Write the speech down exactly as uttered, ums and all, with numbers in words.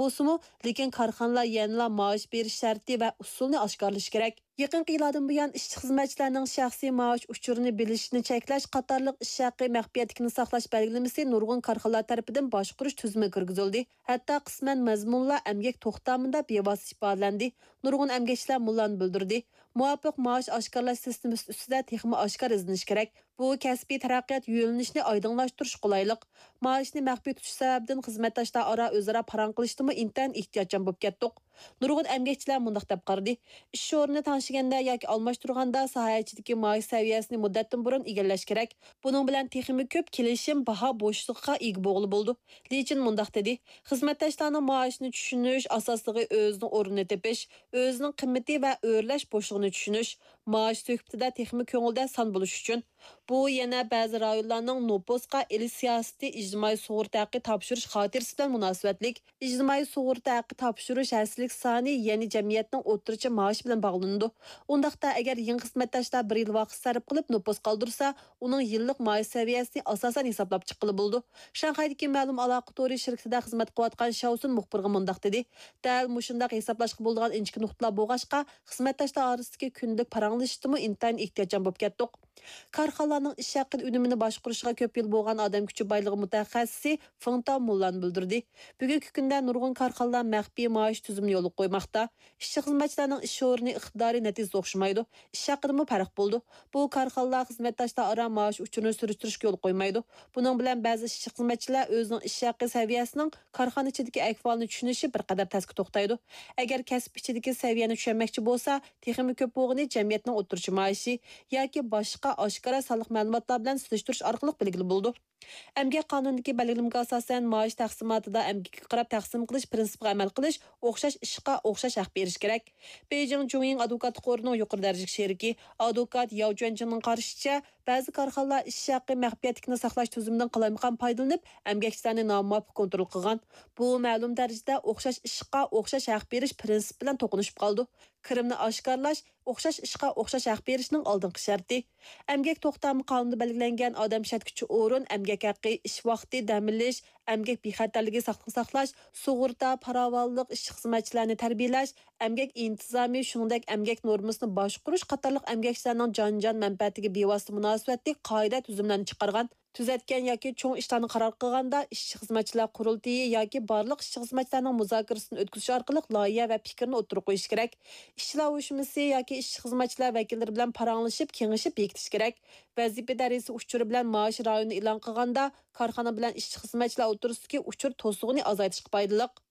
بولسىمۇ، لېكىن كارخانىلار يەنىلا مائاش بېرىش شەرتى ۋە ئۇسۇلىنى ئاشكارىلىشى كېرەك. يېقىنقى يىللاردىن بۇيان، ئىشچى-خىزمەتچىلەرنىڭ شەخسىي مائاش ئۇچۇرىنى بىلىشنى چەكلەش قاتارلىق ئىش ھەققى مەخپىيەتلىكىنى ساقلاش بەلگىلىمىسى نۇرغۇن كارخانىلار تەرىپىدىن باشقۇرۇش تۈزۈمىگە كىرگۈزۈلدى. ھەتتا قىسمەن مەزمۇنلار ئەمگەك توختامىدا بىۋاسىتە ئىپادىلەندى. نۇرغۇن ئەمگەكچىلەر مۇنۇلارنى بىلدۈردى: مۇۋاپىق مائاش ئاشكارىلاش سىستېمىسى ئۈستىدە تېخىمۇ ئاشكارا ئىزدىنىش كېرەك. بۇ كەسپىي تەرەققىيات يۆنىلىشىنى ئايدىڭلاشتۇرۇشقا قولايلىق. مائاشنى مەخپىي تۇتۇش سەۋەبىدىن خىزمەتداشلار ئارا ئۆزئارا پاراڭ قىلىشتىنمۇ ئىنتايىن ئېھتىياتچان بولۇپ كەتتۇق. نۇرغۇن ئەمگەكچىلەر مۇنداق دەپ قارىدى: ئىش ئورنىنى تەڭشىگەندە ياكى ئالماشتۇرغاندا ساھە ئىچىدىكى مائاش سەۋىيەسىنى مۇددەتتىن بۇرۇن ئىگىلەش كېرەك. بۇنىڭ بىلەن تېخىمۇ كۆپ كېلىشىم باھا بوشلۇقىغا ئىگە بولغىلى بولىدۇ. لى چىن مۇنداق دېدى: خىزمەتداشلارنىڭ مائاشىنى چۈشىنىش ئاساسلىقى ئۆزىنىڭ ئورنىنى تېپىش، ئۆزىنىڭ قىممىتى ۋە ئۆرلەش بوشلۇقىنى چۈشىنىش، مائاش سۆھبىتىدە تېخىمۇ كۆڭۈلدە سان بولۇش ئۈچۈن. بۇ يەنە بەزى رايونلارنىڭ نوپۇسقا ئېلىش سىياسىتى ئىجتىمائىي سۇغۇرتا ھەققى تاپشۇرۇش خاتىرىسى بىلەن مۇناسىۋەتلىك. ئىجتىمائىي سۇغۇرتا ھەققى تاپشۇرۇش ھەسسىلىك سانى، يەنى جەمئىيەتنىڭ ئوتتۇرىچە مائاشى بىلەن باغلىنىدۇ. ئۇنداقتا، ئەگەر يېڭى خىزمەتداشلار بىر يىل ۋاقىت سەرپ قىلىپ نوپۇس قالدۇرسا، ئۇنىڭ يىللىق مائاش سەۋىيەسىنى ئاساسەن ھېسابلاپ چىققىلى بولىدۇ. شاڭخەيدىكى مەلۇم ئالاقە تورى شىركىتىدە خىزمەت قىلىۋاتقان شياۋسۈن مۇخبىرغا مۇنداق دېدى: دەل مۇشۇنداق ھېسابلاشقا بولىدىغان ئىنچىكە نۇقتىلار بولغاچقا، خىزمەتداشلار ئارىسىدىكى كۈندىلىك پاراڭلىشىشتىمۇ ئىنتايىن ئېھتىياتچان بولۇپ كەتتۇق. كارخانىلارنىڭ ئىش ھەققىنى ئۈنۈمىنى باشقۇرۇشىغا كۆپ يىل بولغان ئادەم كۈچى بايلىقى مۇتەخەسسىسى فېڭ تاۋ مۇنۇلارنى بىلدۈردى: بۈگۈنكى كۈندە نۇرغۇن كارخانىلار مەخپىي مائاش تۈزۈمىنى يولغا قويماقتا. ئىشچى-خىزمەتچىلەرنىڭ ئىش ئورنى ئىقتىدارى، نەتىجىسى ئوخشىمايدۇ. ئىش ھەققىدىمۇ پەرق بولىدۇ. بۇ كارخانىلار خىزمەتداشلار ئارا مائاش ئۇچۇرىنى سۈرۈشتۈرۈشكە يول قويمايدۇ. بۇنىڭ بىلەن بەزى ئىشچى-خىزمەتچىلەر ئۆزىنىڭ ئىش ھەققى سەۋىيەسىنىڭ كارخانا ئىچىدىكى ئەھۋالىنى چۈشىنىشى بىر قەدەر تەسكە توختايدۇ. ئەگەر كەسىپ ئىچىدىكى سەۋىيەنى چۈشەنمەكچى بولسا، تېخىمۇ كۆپ بولغىنى جەمئىيەتنىڭ ئوتتۇرىچە مائاشى ياكى باشقا ئاشكارا سانلىق مەلۇماتلار بىلەن سېلىشتۇرۇش ئارقىلىق بىلگىلى بولىدۇ. ئەمگەك قانۇنىدىكى بەلگىلىمىگە ئاساسەن، مائاش تەقسىماتىدا ئەمگەككە قاراپ تەقسىم قىلىش پىرىنسىپىغا ئەمەل قىلىش، ئوخشاش ئىشقا ئوخشاش ھەق بېرىش كېرەك. بېيجىڭ جۇڭيىڭ ئادۋوكاتلىق قورىنىڭ يۇقىرى دەرىجىلىك شېرىكى، ئادۋوكات ياۋ جۈەنجىڭنىڭ قارىشىچە، بەزى كارخانىلار ئىش ھەققى مەخپىيەتلىكىنى ساقلاش تۈزۈمىدىن قالايمىقان پايدىلىنىپ، ئەمگەكچىلەرنى نامۇۋاپىق كونترول قىلغان. بۇ مەلۇم دەرىجىدە ئوخشاش ئىشقا ئوخشاش ھەق بېرىش پىرىنسىپى بىلەن توقۇنۇشۇپ قالىدۇ. كىرىمنى ئاشكارىلاش، ئوخشاش ئىشقا ئوخشاش ھەق بېرىشنىڭ ئالدىنقى شەرتى. ئەمگەك توختامى قانۇنىدا بەلگىلەنگەن ئادەم ئىشلەتكۈچى ئورۇن، ئەمگەك ھەققى، ئىش ۋاقتى، دەم ئېلىش، ئەمگەك بىخەتەرلىكى، ساقلىقنى ساقلاش، سۇغۇرتا، پاراۋانلىق، ئىشچى-خىزمەتچىلەرنى تەربىيەلەش، ئەمگەك ئىنتىزامى، شۇنىڭدەك ئەمگەك نورمىسىنى باشقۇرۇش قاتارلىق ئەمگەكچىلەرنىڭ جان-جان مەنپەئەتىگە بىۋاسىتە مۇناسىۋەتلىك قائىدە تۈزۈملەرنى چىقارغان. تۈزەتكەن ياكى چوڭ ئىشلارنى قارار قىلغاندا، ئىشچى-خىزمەتچىلەر قۇرۇلتىيى ياكى بارلىق ئىشچى-خىزمەتچىلەرنىڭ مۇزاكىرىسىدىن ئۆتكۈزۈش ئارقىلىق لايىھە ۋە پىكىرنى ئوتتۇرىغا قويۇشى كېرەك. ئىشچىلار ئۇيۇشمىسى ياكى ئىشچى-خىزمەتچىلەر ۋەكىللىرى بىلەن پاراڭلىشىپ، كېڭىشىپ بېكىتىش كېرەك. ۋەزىپە دەرىجىسى ئۇچۇرى بىلەن مائاش رايونىنى ئېلان قىلغاندا، كارخانا بىلەن ئىشچى-خىزمەتچىلەر ئوتتۇرىسىدىكى ئۇچۇر توسۇقىنى ئازايتىشقا پايدىلىق.